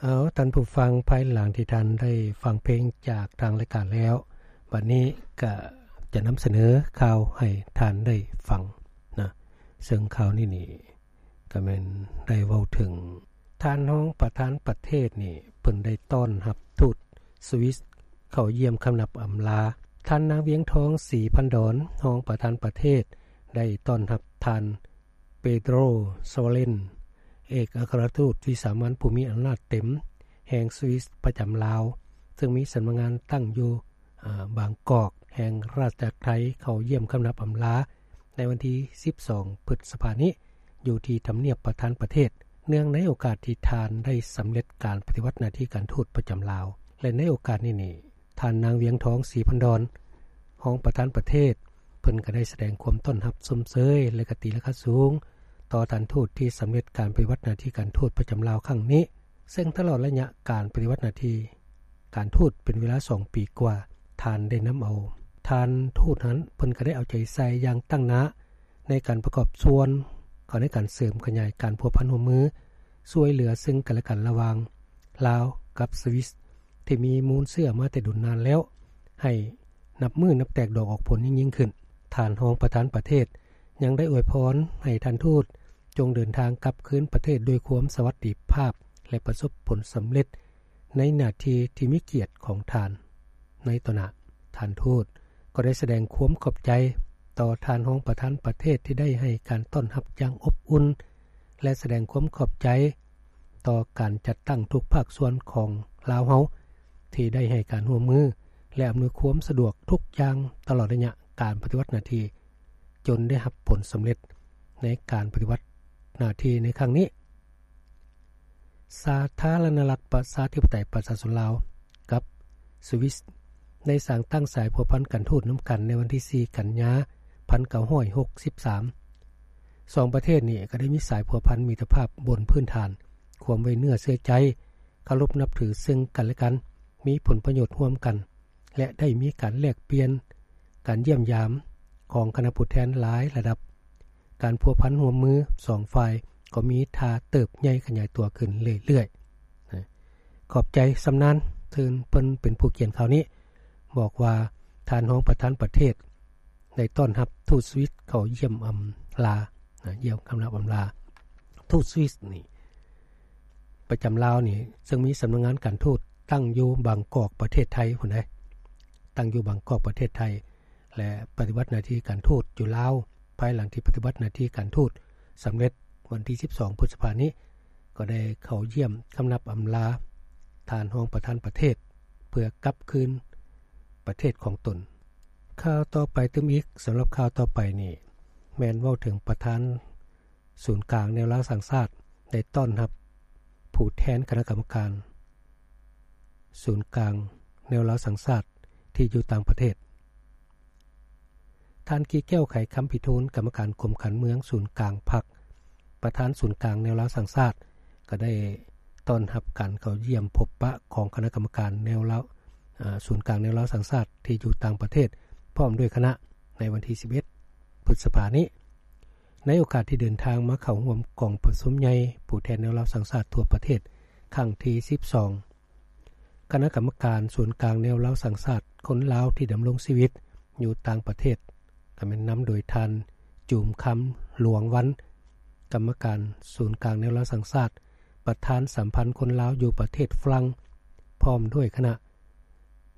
ເອົາ ທ່ານຜູ້ຟັງ, ພາຍຫຼັງທີ່ທ່ານໄດ້ຟັງເພງຈາກທາງລາຍການແລ້ວ, ບັດນີ້ກະຈະນຳສະເໜີຂ່າວໃຫ້ທ່ານໄດ້ຟັງນະ, ເຊິ່ງຂ່າວນີ້ນີ້ກະແມ່ນໄດ້ເວົ້າເຖິງ ທ່ານຮອງປະທານປະເທດນີ້ ເພິ່ນໄດ້ຕ້ອນຮັບທູດສະວິດເຂົ້າຢ້ຽມຄຳນັບອຳລາ. ທ່ານນາງ ວຽງທອງ ສີພັນດອນ ຮອງປະທານປະເທດ ໄດ້ຕ້ອນຮັບທ່ານ ເປໂຕຣ ຊາວາເລນ ເອກອັກຄະລັດທູດວິສາມັນຜູ້ມີອຳນາດເຕັມແຫ່ງສະວິດປະຈຳລາວ, ເຊິ່ງມີສຳນັກງານຕັ້ງຢູ່ ອາ ບາງກອກ ແຫ່ງລາຊະອານາຈັກໄທ ເຂົ້າຢ້ຽມຄຳນັບອຳລາໃນວັນທີສິບສອງ ພຶດສະພານີ້ ຢູ່ທີ່ທຳນຽບປະທານປະເທດ, ເນື່ອງໃນໂອກາດທີ່ທ່ານໄດ້ສຳເລັດການປະຕິບັດໜ້າທີ່ການທູດປະຈຳລາວ. ແລະ ໃນໂອກາດນີ້ນີ້ ທ່ານນາງ ວຽງທອງ ສີພັນດອນ ຮອງປະທານປະເທດ ເພິ່ນກໍໄດ້ສະແດງຄວາມຕ້ອນຮັບຊົມເຊີຍ ແລະ ກະຕີລາຄາສູງຕໍ່ທ່ານທູດທີ່ສຳເລັດການປະຕິບັດໜ້າທີ່ການທູດປະຈຳລາວຄັ້ງນີ້, ເຊິ່ງຕະຫຼອດໄລຍະການປະຕິບັດໜ້າທີ່ການທູດເປັນເວລາສອງປີກວ່າ, ທ່ານໄດ້ນຳເອົາ ທ່ານທູດນັ້ນ ເພິ່ນກໍໄດ້ເອົາໃຈໃສ່ຢ່າງຕັ້ງໜ້າໃນການປະກອບສ່ວນເຂົ້າໃນການເສີມຂະຫຍາຍການພົວພັນຮ່ວມມື ຊ່ວຍເຫຼືອເຊິ່ງກັນແລະກັນລະຫວ່າງລາວກັບສະວິດ ທີ່ມີມູນເຊື້ອມາແຕ່ດົນນານແລ້ວ ໃຫ້ນັບມື້ນັບແຕກດອກອອກຜົນຍິ່ງໆຂຶ້ນ. ທ່ານຮອງປະທານປະເທດຍັງໄດ້ອວຍພອນໃຫ້ທ່ານທູດຈົ່ງເດີນທາງກັບຄືນປະເທດດ້ວຍຄວາມສະຫວັດດີພາບ ແລະ ປະສົບຜົນສຳເລັດໃນໜ້າທີ່ທີ່ມີກຽດຂອງທ່ານ. ໃນຕໍ່ໜ້າ, ທ່ານທູດກໍໄດ້ສະແດງຄວາມຂອບໃຈຕໍ່ທ່ານຮອງປະທານປະເທດທີ່ໄດ້ໃຫ້ການຕ້ອນຮັບຢ່າງອົບອຸ່ນ ແລະ ສະແດງຄວາມຂອບໃຈຕໍ່ການຈັດຕັ້ງທຸກພາກສ່ວນຂອງລາວເຮົາ ທີ່ໄດ້ໃຫ້ການຮ່ວມມື ແລະ ອຳນວຍຄວາມສະດວກທຸກຢ່າງຕະຫຼອດໄລຍະການປະຕິບັດໜ້າທີ່ ຈົນໄດ້ຮັບຜົນສຳເລັດໃນການປະຕິບັດໜ້າທີ່ໃນຄັ້ງນີ້. ສາທາລະນະລັດປະຊາທິປະໄຕປະຊາຊົນລາວກັບສະວິດ ໄດ້ສ້າງຕັ້ງສາຍພົວພັນການທູດນຳກັນໃນວັນທີສີ່ ກັນຍາ ພັນເກົ້າຮ້ອຍຫົກສິບສາມ. ສອງປະເທດນີ້ກໍໄດ້ມີສາຍພົວພັນມິດຕະພາບບົນພື້ນຖານຄວາມໄວ້ເນື້ອເຊື່ອໃຈ, ເຄົາລົບນັບຖືເຊິ່ງກັນແລະກັນ, ມີຜົນປະໂຫຍດຮ່ວມກັນ ແລະ ໄດ້ມີການແລກປ່ຽນ, ການຢ້ຽມຢາມຂອງຄະນະຜູ້ແທນຫຼາຍລະດັບ. ການພົວພັນຮ່ວມມືສອງຝ່າຍກໍມີທ່າເຕີບໃຫຍ່ຂະຫຍາຍຕົວຂຶ້ນເລື້ອຍໆ. ຂອບໃຈຊຳນານ ເຊິ່ງເພິ່ນເປັນຜູ້ຂຽນຂ່າວນີ້ ບອກວ່າ ທ່ານຮອງປະທານປະເທດໄດ້ຕ້ອນຮັບທູດສະວິດເຂົ້າຢ້ຽມອຳລາ, ຢ້ຽມຄຳນັບອຳລາ. ທູດສະວິດນີ້ ປະຈຳລາວນີ້ ເຊິ່ງມີສຳນັກງານການທູດຕັ້ງຢູ່ບາງກອກ ປະເທດໄທພຸ້ນເດ້, ຕັ້ງຢູ່ບາງກອກ ປະເທດໄທ ແລະ ປະຕິບັດໜ້າທີ່ການທູດຢູ່ລາວ. ພາຍຫຼັງທີ່ປະຕິບັດໜ້າທີ່ການທູດສຳເລັດວັນທີສິບສອງ ພຶດສະພານີ້ ກໍໄດ້ເຂົ້າຢ້ຽມຄຳນັບອຳລາທ່ານຮອງປະທານປະເທດ ເພື່ອກັບຄືນປະເທດຂອງຕົນ. ຂ່າວຕໍ່ໄປຕື່ມອີກ, ສຳລັບຂ່າວຕໍ່ໄປນີ້ ແມ່ນເວົ້າເຖິງປະທານ ສູນກາງແນວລາວສ້າງຊາດ ໄດ້ຕ້ອນຮັບຜູ້ແທນຄະນະກຳມະການສູນກາງແນວລາວສ້າງຊາດທີ່ຢູ່ຕ່າງປະເທດ. ທ່ານ ກີແກ້ວ ໄຂຄຳພິທູນ ກຳມະການກົມການເມືອງສູນກາງພັກ ປະທານສູນກາງແນວລາວສ້າງຊາດ ກໍໄດ້ຕ້ອນຮັບການເຂົ້າຢ້ຽມພົບປະຂອງຄະນະກຳມະການແນວລາວ ອາ ສູນກາງແນວລາວສ້າງຊາດທີ່ຢູ່ຕ່າງປະເທດ ພ້ອມດ້ວຍຄະນະ ໃນວັນທີສິບເອັດ ພຶດສະພານີ້. ໃນໂອກາດທີ່ເດີນທາງມາເຂົ້າຮ່ວມກອງປະຊຸມໃຫຍ່ຜູ້ແທນແນວລາວສ້າງຊາດທົ່ວປະເທດຄັ້ງທີສິບສອງ, ຄະນະກຳມະການສູນກາງແນວລາວສ້າງຊາດ ຄົນລາວທີ່ດຳລົງຊີວິດຢູ່ຕ່າງປະເທດ ກໍແມ່ນນຳໂດຍທ່ານ ຈູມຄຳ ຫຼວງວັນ ກຳມະການສູນກາງແນວລາວສ້າງຊາດ ປະທານສຳພັນຄົນລາວຢູ່ປະເທດຝຣັ່ງ ພ້ອມດ້ວຍຄະນະ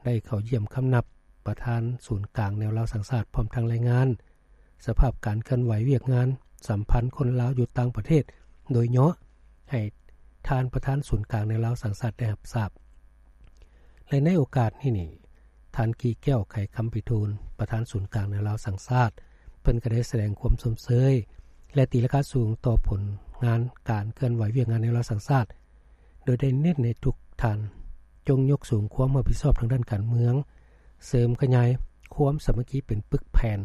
ໄດ້ເຂົ້າຢ້ຽມຄຳນັບປະທານສູນກາງແນວລາວສ້າງຊາດ ພ້ອມທັງລາຍງານສະພາບການເຄື່ອນໄຫວວຽກງານສຳພັນຄົນລາວຢູ່ຕ່າງປະເທດໂດຍຫຍໍ້ ໃຫ້ທ່ານປະທານສູນກາງແນວລາວສ້າງຊາດໄດ້ຮັບຊາບ. ແລະ ໃນໂອກາດນີ້ນີ້ ທ່ານ ກີແກ້ວ ໄຂຄຳພິທູນ ປະທານສູນກາງແນວລາວສ້າງຊາດ ເພິ່ນກໍໄດ້ສະແດງຄວາມຊົມເຊີຍ ແລະ ຕີລາຄາສູງຕໍ່ຜົນງານການເຄື່ອນໄຫວວຽກງານແນວລາວສ້າງຊາດ ໂດຍໄດ້ເນັ້ນໃຫ້ທຸກທ່ານຈົ່ງຍົກສູງຄວາມຮັບຜິດຊອບທາງດ້ານການເມືອງ, ເສີມຂະຫຍາຍຄວາມສາມັກຄີເປັນປຶກແຜ່ນ,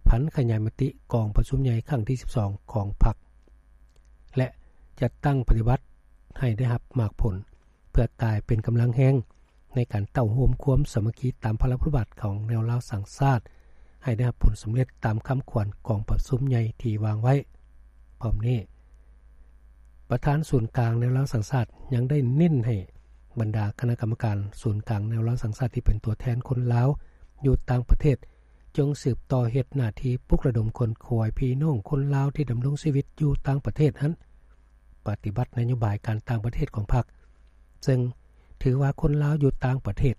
ຜັນຂະຫຍາຍມະຕິກອງປະຊຸມໃຫຍ່ຄັ້ງທີສິບສອງຂອງພັກ ແລະ ຈັດຕັ້ງປະຕິບັດໃຫ້ໄດ້ຮັບໝາກຜົນ ເພື່ອກາຍເປັນກຳລັງແຮງໃນການເຕົ້າໂຮມຄວາມສາມັກຄີຕາມພາລະບົດບາດຂອງແນວລາວສ້າງຊາດ ໃຫ້ໄດ້ຮັບຜົນສຳເລັດຕາມຄຳຂວັນກອງປະຊຸມໃຫຍ່ທີ່ວາງໄວ້. ພ້ອມນີ້ ປະທານສູນກາງແນວລາວສ້າງຊາດ ຍັງໄດ້ເນັ້ນໃຫ້ບັນດາຄະນະກຳມະການສູນກາງແນວລາວສ້າງຊາດ ທີ່ເປັນຕົວແທນຄົນລາວຢູ່ຕ່າງປະເທດ ຈົ່ງສືບຕໍ່ເຮັດໜ້າທີ່ປຸກລະດົມຂົນຂວາຍພີ່ນ້ອງຄົນລາວທີ່ດຳລົງຊີວິດຢູ່ຕ່າງປະເທດຫັ້ນ ປະຕິບັດນະໂຍບາຍການຕ່າງປະເທດຂອງພັກ ເຊິ່ງຖືວ່າຄົນລາວຢູ່ຕ່າງປະເທດ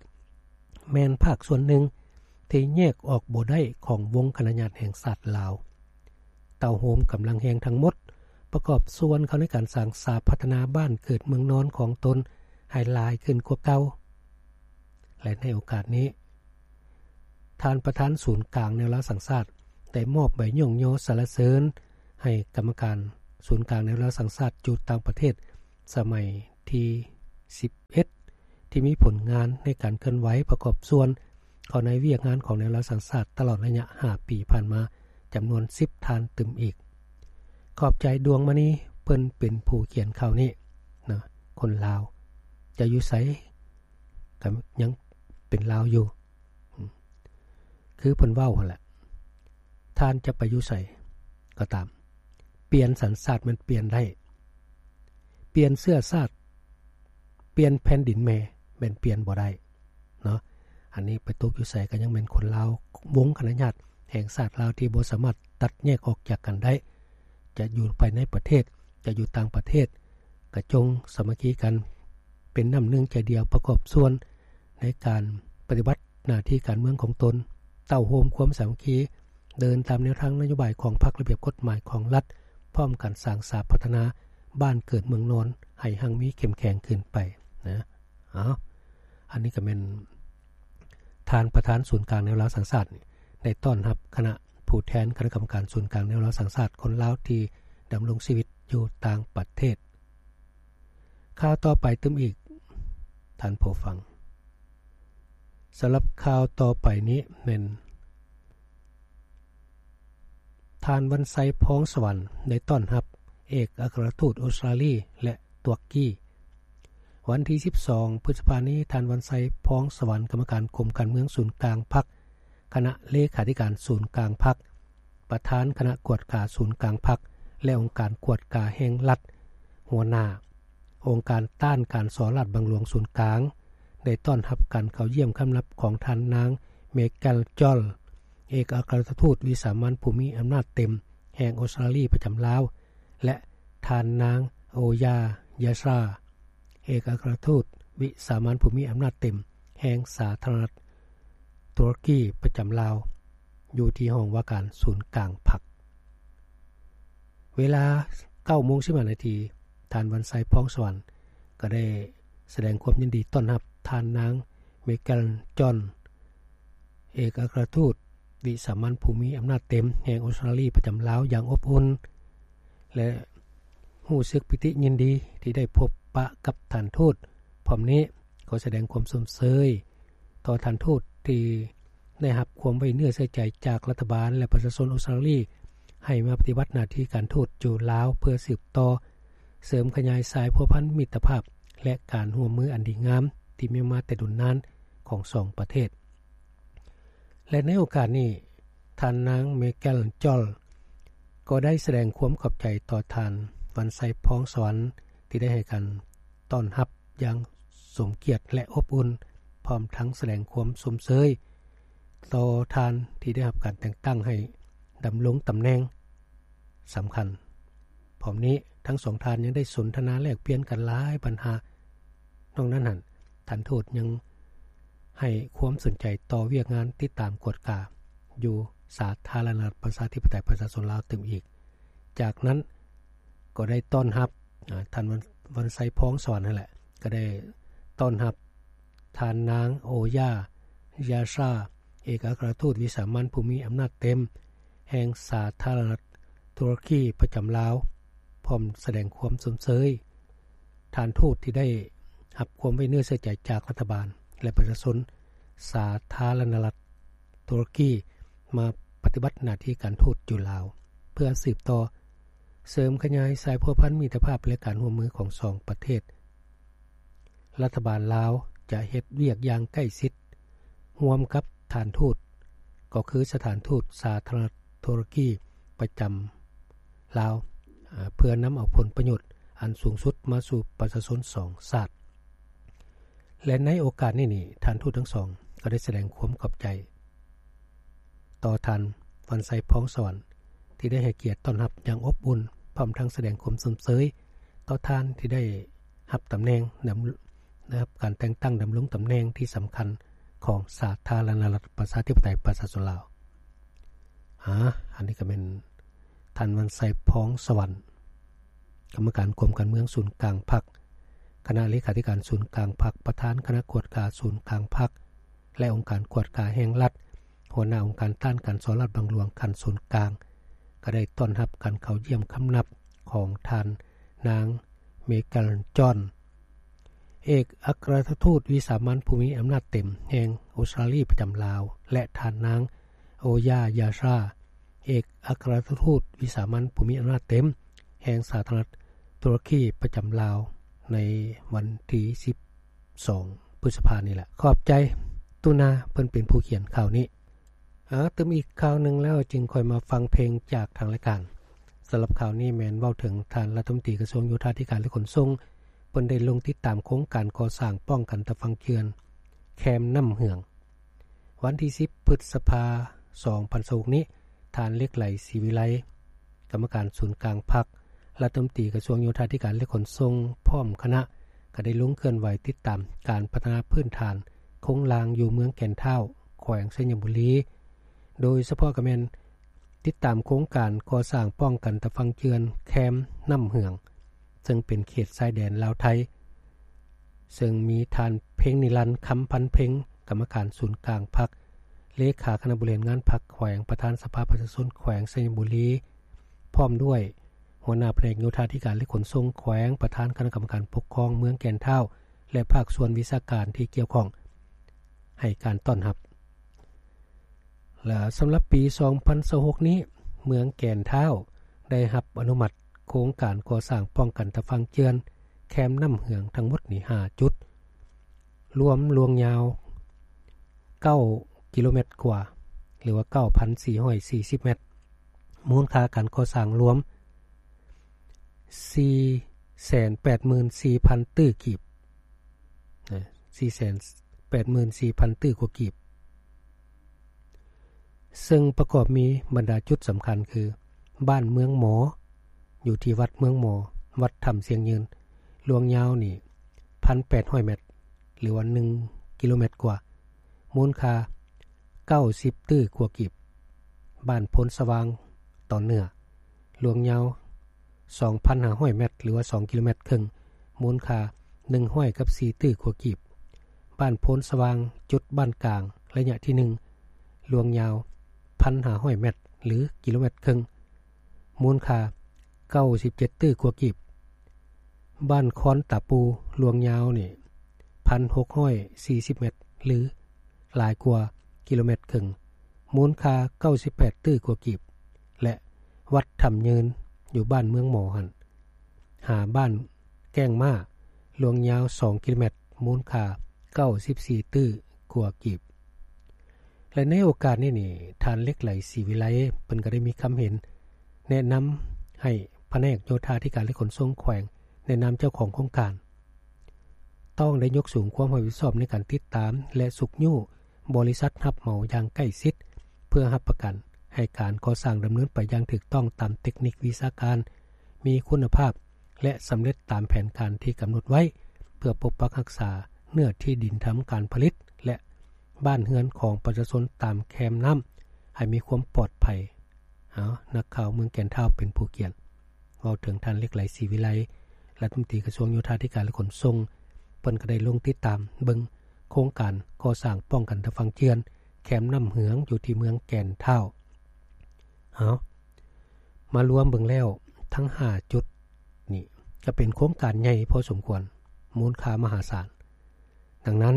ແມ່ນພາກສ່ວນໜຶ່ງທີ່ແຍກອອກບໍ່ໄດ້ຂອງວົງຄະນະຍາດແຫ່ງຊາດລາວ. ເຕົ້າໂຮມກຳລັງແຮງທັງໝົດ ປະກອບສ່ວນເຂົ້າໃນການສ້າງສາພັດທະນາບ້ານເກີດເມືອງນອນຂອງຕົນໃຫ້ຫຼາຍຂຶ້ນກວ່າເກົ່າ. ແລະ ໃນໂອກາດນີ້ ທ່ານປະທານສູນກາງແນວລາວສ້າງຊາດ ໄດ້ມອບໃບຍ້ອງຍໍສັນລະເສີນໃຫ້ກຳມະການສູນກາງແນວລາວສ້າງຊາດຢູ່ຕ່າງປະເທດ ສະໄໝທີສິບເອັດ ທີ່ມີຜົນງານໃນການເຄື່ອນໄຫວປະກອບສ່ວນເຂົ້າໃນວຽກງານຂອງແນວລາວສ້າງຊາດຕະຫຼອດໄລຍະຫ້າປີຜ່ານມາ ຈຳນວນສິບທ່ານຕື່ມອີກ. ຂອບໃຈ ດວງມະນີ ເພິ່ນເປັນຜູ້ຂຽນຂ່າວນີ້ນະ. ຄົນລາວຈະຢູ່ໃສ ກໍຍັງເປັນລາວຢູ່ ອືມ ຄືເພິ່ນເວົ້າຫັ້ນແຫຼະ ທ່ານຈະໄປຢູ່ໃສກໍຕາມ ປ່ຽນສັນຊາດແມ່ນປ່ຽນໄດ້ ປ່ຽນເຊື້ອຊາດ ປ່ຽນແຜ່ນດິນແມ່ແມ່ນປ່ຽນບໍ່ໄດ້ເນາະ. ອັນນີ້ໄປຕົກຢູ່ໃສກໍຍັງແມ່ນຄົນລາວ ວົງຄະນະຍາດແຫ່ງຊາດລາວທີ່ບໍ່ສາມາດຕັດແຍກອອກຈາກກັນໄດ້ ຈະຢູ່ພາຍໃນປະເທດ ຈະຢູ່ຕ່າງປະເທດ ກະຈົ່ງສາມັກຄີກັນ ເປັນນ້ຳໜຶ່ງໃຈດຽວ ປະກອບສ່ວນໃນການປະຕິບັດໜ້າທີ່ການເມືອງຂອງຕົນ ເຕົ້າໂຮມຄວາມສາມັກຄີ ເດີນຕາມແນວທາງນະໂຍບາຍຂອງພັກ ລະບຽບກົດໝາຍຂອງລັດ ພ້ອມກັນສ້າງສາພັດທະນາບ້ານເກີດເມືອງນອນໃຫ້ຮັ່ງມີເຂັ້ມແຂງຂຶ້ນໄປນະ. ເອົາ ອັນນີ້ກໍແມ່ນທ່ານປະທານສູນກາງແນວລາວສ້າງຊາດ ໄດ້ຕ້ອນຮັບຄະນະຜູ້ແທນຄະນະກຳມະການສູນກາງແນວລາວສ້າງຊາດ ຄົນລາວທີ່ດຳລົງຊີວິດຢູ່ຕ່າງປະເທດ. ຂ່າວຕໍ່ໄປຕື່ມອີກ ທ່ານຜູ້ຟັງ. ສຳລັບຂ່າວຕໍ່ໄປນີ້ແມ່ນ ທ່ານ ວັນໄຊ ພອງສະຫວັນ ໄດ້ຕ້ອນຮັບເອກອັກຄະລັດທູດອົດສະຕຣາລີ ແລະ ຕຸລະກີ. ວັນທີສິບສອງ ພຶດສະພານີ້ ທ່ານ ວັນໄຊ ພອງສະຫວັນ ກຳມະການກົມການເມືອງສູນກາງພັກ, ຄະນະເລຂາທິການສູນກາງພັກ, ປະທານຄະນະກວດກາສູນກາງພັກ ແລະ ອົງການກວດກາແຫ່ງລັດ, ຫົວໜ້າອົງການຕ້ານການສໍ້ລາດບັງຫຼວງສູນກາງ ໄດ້ຕ້ອນຮັບການເຂົ້າຢ້ຽມຄຳນັບຂອງທ່ານນາງ ເມແກນ ຈອນ ເອກອັກຄະລັດທູດວິສາມັນຜູ້ມີອຳນາດເຕັມແຫ່ງອົດສະຕຣາລີປະຈຳລາວ ແລະ ທ່ານນາງ ໂອຢາ ຢາຊາ ເອກອັກຄະລັດທູດວິສາມັນຜູ້ມີອຳນາດເຕັມແຫ່ງສາທາລະນະລັດຕຸລະກີປະຈຳລາວ ຢູ່ທີ່ຫ້ອງວ່າການສູນກາງພັກ. ເວລາເກົ້າໂມງສິບຫ້ານາທີ ທ່ານ ວັນໄຊ ພອງສະຫວັນ ກໍໄດ້ສະແດງຄວາມຍິນດີຕ້ອນຮັບທ່ານນາງ ເມແກນ ຈອນ ເອກອັກຄະລັດທູດວິສາມັນຜູ້ມີອຳນາດເຕັມແຫ່ງອົດສະຕຣາລີປະຈຳລາວຢ່າງອົບອຸ່ນ ແລະ ຮູ້ສຶກປີຕິຍິນດີທີ່ໄດ້ພົບປະກັບທ່ານທູດ. ພ້ອມນີ້ກໍສະແດງຄວາມຊົມເຊີຍຕໍ່ທ່ານທູດທີ່ໄດ້ຮັບຄວາມໄວ້ເນື້ອເຊື່ອໃຈຈາກລັດຖະບານ ແລະ ປະຊາຊົນອົດສະຕຣາລີ ໃຫ້ມາປະຕິບັດໜ້າທີ່ການທູດຢູ່ລາວ ເພື່ອສືບຕໍ່ເສີມຂະຫຍາຍສາຍພົວພັນມິດຕະພາບ ແລະ ການຮ່ວມມືອັນດີງາມທີ່ມີມາແຕ່ດົນນານຂອງສອງປະເທດ. ແລະ ໃນໂອກາດນີ້ ທ່ານນາງ ເມແກນ ຈອນ ກໍໄດ້ສະແດງຄວາມຂອບໃຈຕໍ່ທ່ານ ວັນໄຊ ພອງສະຫວັນ ທີ່ໄດ້ໃຫ້ການຕ້ອນຮັບຢ່າງສົມກຽດ ແລະ ອົບອຸ່ນ, ພ້ອມທັງສະແດງຄວາມຊົມເຊີຍຕໍ່ທ່ານທີ່ໄດ້ຮັບການແຕ່ງຕັ້ງໃຫ້ດຳລົງຕຳແໜ່ງສຳຄັນ. ພ້ອມນີ້ ທັງສອງທ່ານຍັງໄດ້ສົນທະນາແລກປ່ຽນກັນຫຼາຍບັນຫາ. ນອກນັ້ນຫັ້ນ ທ່ານທູດຍັງໃຫ້ຄວາມສົນໃຈຕໍ່ວຽກງານຕິດຕາມກວດກາຢູ່ສາທາລະນະລັດປະຊາທິປະໄຕປະຊາຊົນລາວຕື່ມອີກ. ຈາກນັ້ນກໍໄດ້ຕ້ອນຮັບ ອາ ທ່ານ ວັນ ວັນໄຊ ພອງສະຫວັນນັ້ນແຫຼະ ກໍໄດ້ຕ້ອນຮັບທ່ານນາງ ໂອຢາ ຢາຊາ ເອກອັກຄະລັດທູດວິສາມັນຜູ້ມີອຳນາດເຕັມແຫ່ງສາທາລະນະລັດຕຸລະກີປະຈຳລາວ ພ້ອມສະແດງຄວາມຊົມເຊີຍ ທ່ານທູດທີ່ໄດ້ຮັບຄວາມໄວ້ເນື້ອເຊື່ອໃຈຈາກລັດຖະບານ ແລະ ປະຊາຊົນສາທາລະນະລັດຕຸລະກີ ມາປະຕິບັດໜ້າທີ່ການທູດຢູ່ລາວ ເພື່ອສືບຕໍ່ເສີມຂະຫຍາຍສາຍພົວພັນມິດຕະພາບ ແລະ ການຮ່ວມມືຂອງສອງປະເທດ. ລັດຖະບານລາວຈະເຮັດວຽກຢ່າງໃກ້ຊິດຮ່ວມກັບສະຖານທູດ ກໍຄືສະຖານທູດສາທາລະນະລັດຕຸລະກີປະຈຳລາວ ເພື່ອນຳເອົາຜົນປະໂຫຍດ ອັນສູງສຸດມາສູ່ປະຊາຊົນສອງຊາດ. ແລະ ໃນໂອກາດນີ້ນີ້ ທ່ານທູດທັງສອງກໍໄດ້ສະແດງຄວາມຂອບໃຈຕໍ່ທ່ານ ວັນໄຊ ພອງສະຫວັນ ທີ່ໄດ້ໃຫ້ກຽດຕ້ອນຮັບຢ່າງອົບອຸ່ນ, ພ້ອມທັງສະແດງຄວາມຊົມເຊີຍຕໍ່ທ່ານທີ່ໄດ້ຮັບຕຳແໜ່ງ ນຳ ໄດ້ຮັບການແຕ່ງຕັ້ງດຳລົງຕຳແໜ່ງທີ່ສຳຄັນຂອງສາທາລະນະລັດ ປະຊາທິປະໄຕ ປະຊາຊົນລາວ. ອາ ອັນນີ້ກໍແມ່ນທ່ານ ວັນໄຊ ພອງສະຫວັນ ກຳມະການກົມການເມືອງສູນກາງພັກ, ຄະນະເລຂາທິການສູນກາງພັກ, ປະທານຄະນະກວດກາສູນກາງພັກ ແລະ ອົງການກວດກາແຫ່ງລັດ, ຫົວໜ້າອົງການຕ້ານການສໍ້ລາດບັງຫຼວງຂັ້ນສູນກາງ, ກໍໄດ້ຕ້ອນຮັບການເຂົ້າຢ້ຽມຄຳນັບຂອງທ່ານນາງ ເມແກນ ຈອນ ເອກອັກຄະລັດທູດວິສາມັນຜູ້ມີອຳນາດເຕັມແຫ່ງອົດສະຕຣາລີປະຈຳລາວ ແລະ ທ່ານນາງ ໂອຢາ ຢາຊາ ເອກອັກຄະລັດທູດວິສາມັນຜູ້ມີອຳນາດເຕັມແຫ່ງສາທາລະນະລັດຕຸລະກີປະຈຳລາວ ໃນວັນທີສິບສອງ ພຶດສະພານີ້ແຫຼະ. ຂອບໃຈ ຕຸນາ ເພິ່ນເປັນຜູ້ຂຽນຂ່າວນີ້. ອາ ຕື່ມອີກຂ່າວໜຶ່ງແລ້ວຈຶ່ງຄ່ອຍມາຟັງເພງຈາກທາງລາຍການ. ສຳລັບຂ່າວນີ້ແມ່ນເວົ້າເຖິງທ່ານລັດຖະມົນຕີກະຊວງໂຍທາທິການ ແລະ ຂົນສົ່ງ ເພິ່ນໄດ້ລົງຕິດຕາມໂຄງການກໍ່ສ້າງປ້ອງກັນຕາຝັ່ງເຈື່ອນແຄມນ້ຳເຫືອງ. ວັນທີສິບ ພຶດສະພາ ສອງພັນຊາວຫົກນີ້, ທ່ານ ເລັກໄຫຼ ສີວິໄລ ກຳມະການສູນກາງພັກ, ລັດຖະມົນຕີກະຊວງໂຍທາທິການ ແລະ ຂົນສົ່ງ ພ້ອມຄະນະ ກໍໄດ້ລົງເຄື່ອນໄຫວຕິດຕາມການພັດທະນາພື້ນຖານໂຄງລ່າງຢູ່ເມືອງແກ່ນທ້າວ ແຂວງໄຊຍະບູລີ, ໂດຍສະເພາະກໍແມ່ນຕິດຕາມໂຄງການກໍ່ສ້າງປ້ອງກັນຕາຝັ່ງເຈື່ອນແຄມນ້ຳເຫືອງ ເຊິ່ງເປັນເຂດຊາຍແດນລາວໄທ, ເຊິ່ງມີທ່ານ ເພັງນິລັນ ຄຳພັນເພັງ ກຳມະການສູນກາງພັກ, ເລຂາຄະນະບໍລິຫານງານພັກແຂວງ, ປະທານສະພາປະຊາຊົນແຂວງໄຊຍະບູລີ, ພ້ອມດ້ວຍຫົວໜ້າພະແນກໂຍທາທິການ ແລະ ຂົນສົ່ງແຂວງ, ປະທານຄະນະກຳມະການປົກຄອງເມືອງແກ່ນທ້າວ ແລະ ພາກສ່ວນວິຊາການທີ່ກ່ຽວຂ້ອງ ໃຫ້ການຕ້ອນຮັບ. ແລະ ສຳລັບປີສອງພັນຊາວຫົກນີ້, ເມືອງແກ່ນທ້າວໄດ້ຮັບອະນຸມັດໂຄງການກໍ່ສ້າງປ້ອງກັນຕາຝັ່ງເຈື່ອນແຄມນ້ຳເຫືອງທັງໝົດນີ້ຫ້າຈຸດ, ລວມລວງຍາວເກົ້າກິໂລແມັດກວ່າ ຫຼືວ່າເກົ້າພັນສີ່ຮ້ອຍສີ່ສິບແມັດ, ມູນຄ່າການກໍ່ສ້າງລວມສີ່ແສນແປດໝື່ນສີ່ພັນຕື້ກີບ, ນະ, ສີ່ແສນແປດໝື່ນສີ່ພັນຕື້ກວ່າກີບ. ເຊິ່ງປະກອບມີບັນດາຈຸດສຳຄັນຄື ບ້ານເມືອງໝໍ ຢູ່ທີ່ວັດເມືອງໝໍ, ວັດຖ້ຳຊຽງຍືນ, ລວງຍາວນີ້ພັນແປດຮ້ອຍແມັດ ຫຼືວ່າໜຶ່ງກິໂລແມັດກວ່າ, ມູນຄ່າເກົ້າສິບຕື້ກວ່າກີບ. ບ້ານໂພນສະຫວ່າງຕອນເໜືອ, ລວງຍາວສອງພັນຫ້າຮ້ອຍແມັດ ຫຼືວ່າສອງກິໂລແມັດເຄິ່ງ, ມູນຄ່າໜຶ່ງຮ້ອຍກັບສີ່ຕື້ກວ່າກີບ. ບ້ານໂພນສະຫວ່າງ ຈຸດບ້ານກາງ ໄລຍະທີໜຶ່ງ, ລວງຍາວພັນຫ້າຮ້ອຍແມັດ ຫຼື ກິໂລແມັດເຄິ່ງ, ມູນຄ່າເກົ້າສິບເຈັດຕື້ກວ່າກີບ. ບ້ານຄອນຕາປູ ລວງຍາວນີ້ພັນຫົກຮ້ອຍສີ່ສິບແມັດ ຫຼື ຫຼາຍກວ່າກິໂລແມັດເຄິ່ງ, ມູນຄ່າເກົ້າສິບແປດຕື້ກວ່າກີບ ແລະ ວັດຖ້ຳຍືນ ຢູ່ບ້ານເມືອງໝໍຫັ້ນ ຫາບ້ານແກ້ງມ້າ ລວງຍາວສອງກິໂລແມັດ, ມູນຄ່າເກົ້າສິບສີ່ຕື້ກວ່າກີບ. ແລະ ໃນໂອກາດນີ້ນີ້ ທ່ານ ເລັກໄຫຼ ສີວິໄລ ເພິ່ນກໍໄດ້ມີຄຳເຫັນແນະນຳໃຫ້ພະແນກໂຍທາທິການ ແລະ ຂົນສົ່ງແຂວງ ໃນນາມເຈົ້າຂອງໂຄງການ ຕ້ອງໄດ້ຍົກສູງຄວາມຮັບຜິດຊອບໃນການຕິດຕາມ ແລະ ຊຸກຍູ້ບໍລິສັດຮັບເໝົາຢ່າງໃກ້ຊິດ ເພື່ອຮັບປະກັນໃຫ້ການກໍ່ສ້າງດຳເນີນໄປຢ່າງຖືກຕ້ອງຕາມເຕັກນິກວິຊາການ, ມີຄຸນນະພາບ ແລະ ສຳເລັດຕາມແຜນການທີ່ກຳນົດໄວ້ ເພື່ອປົກປັກຮັກສາເນື້ອທີ່ດິນທຳການຜະລິດ ແລະ ບ້ານເຮືອນຂອງປະຊາຊົນຕາມແຄມນ້ຳ ໃຫ້ມີຄວາມປອດໄພ. ເອົາ, ນັກຂ່າວເມືອງແກ່ນທ້າວເປັນຜູ້ຂຽນ. ເວົ້າເຖິງທ່ານ ເລັກໄຫຼ ສີວິໄລ ລັດຖະມົນຕີກະຊວງໂຍທາທິການ ແລະ ຂົນສົ່ງ, ເພິ່ນກໍໄດ້ລົງຕິດຕາມເບິ່ງໂຄງການກໍ່ສ້າງປ້ອງກັນຕາຝັ່ງເຈື່ອນແຄມນ້ຳເຫືອງ ຢູ່ທີ່ເມືອງແກ່ນທ້າວ. ເອົາ, ມາລວມເບິ່ງແລ້ວ ທັງຫ້າຈຸດນີ້ກໍເປັນໂຄງການໃຫຍ່ພໍສົມຄວນ, ມູນຄ່າມະຫາສານ. ດັ່ງນັ້ນ,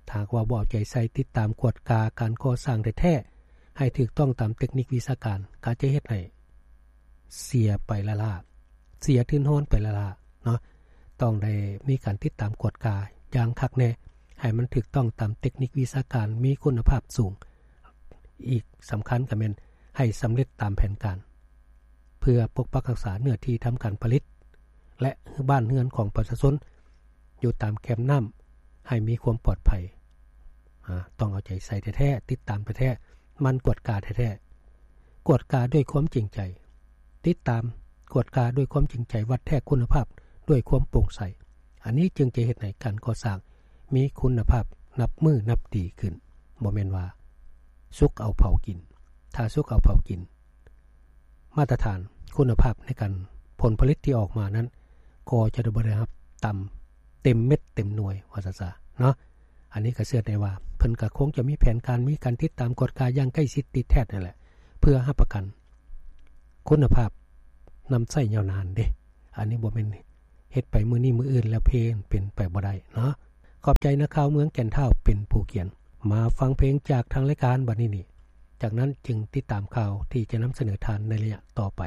ຖ້າຫາກວ່າບໍ່ເອົາໃຈໃສ່ຕິດຕາມກວດກາການກໍ່ສ້າງແທ້ໆ ໃຫ້ຖືກຕ້ອງຕາມເຕັກນິກວິຊາການ, ກໍອາດຈະເຮັດໃຫ້ເສຍໄປລ້າໆ, ເສຍທຶນຮອນໄປລ້າໆເນາະ. ຕ້ອງໄດ້ມີການຕິດຕາມກວດກາຢ່າງຄັກແນ່, ໃຫ້ມັນຖືກຕ້ອງຕາມເຕັກນິກວິຊາການ, ມີຄຸນນະພາບສູງ. ອີກສຳຄັນກໍແມ່ນໃຫ້ສຳເລັດຕາມແຜນການ ເພື່ອປົກປັກຮັກສາເນື້ອທີ່ທຳການຜະລິດ, ແລະບ້ານເຮືອນຂອງປະຊາຊົນຢູ່ຕາມແຄມນ້ຳໃຫ້ມີຄວາມປອດໄພ. ອາ ຕ້ອງເອົາໃຈໃສ່ແທ້ໆ ຕິດຕາມແທ້ໆ ໝັ່ນກວດກາແທ້ໆ ກວດກາດ້ວຍຄວາມຈິງໃຈ ຕິດຕາມກວດກາດ້ວຍຄວາມຈິງໃຈ ວັດແທກຄຸນນະພາບດ້ວຍຄວາມໂປ່ງໃສ. ອັນນີ້ຈຶ່ງຈະເຮັດໃຫ້ການກໍ່ສ້າງມີຄຸນນະພາບນັບມື້ນັບດີຂຶ້ນ ບໍ່ແມ່ນວ່າສຸກເອົາເຜົາກິນ. ຖ້າສຸກເອົາເຜົາກິນ ມາດຕະຖານຄຸນນະພາບໃນການ ຜົນຜະລິດທີ່ອອກມານັ້ນ ກໍຈະບໍ່ໄດ້ຮັບຕາມເຕັມເມັດເຕັມໜ່ວຍ ວ່າຊັ້ນຊະເນາະ. ອັນນີ້ກໍເຊື່ອໄດ້ວ່າເພິ່ນກໍຄົງຈະມີແຜນການ ມີການຕິດຕາມກວດກາຢ່າງໃກ້ຊິດຕິດແທດນັ້ນແຫຼະ ເພື່ອຮັບປະກັນຄຸນນະພາບນຳໃຊ້ຍາວນານເດ້. ອັນນີ້ບໍ່ແມ່ນເຮັດໄປມື້ນີ້ມື້ອື່ນແລ້ວເພ ເປັນໄປບໍ່ໄດ້ເນາະ. ຂອບໃຈນັກຂ່າວເມືອງແກ່ນທ້າວເປັນຜູ້ຂຽນ. ມາຟັງເພງຈາກທາງລາຍການບັດນີ້ນີ້ ຈາກນັ້ນຈຶ່ງຕິດຕາມຂ່າວທີ່ຈະນຳສະເໜີທ່ານໃນໄລຍະຕໍ່ໄປ.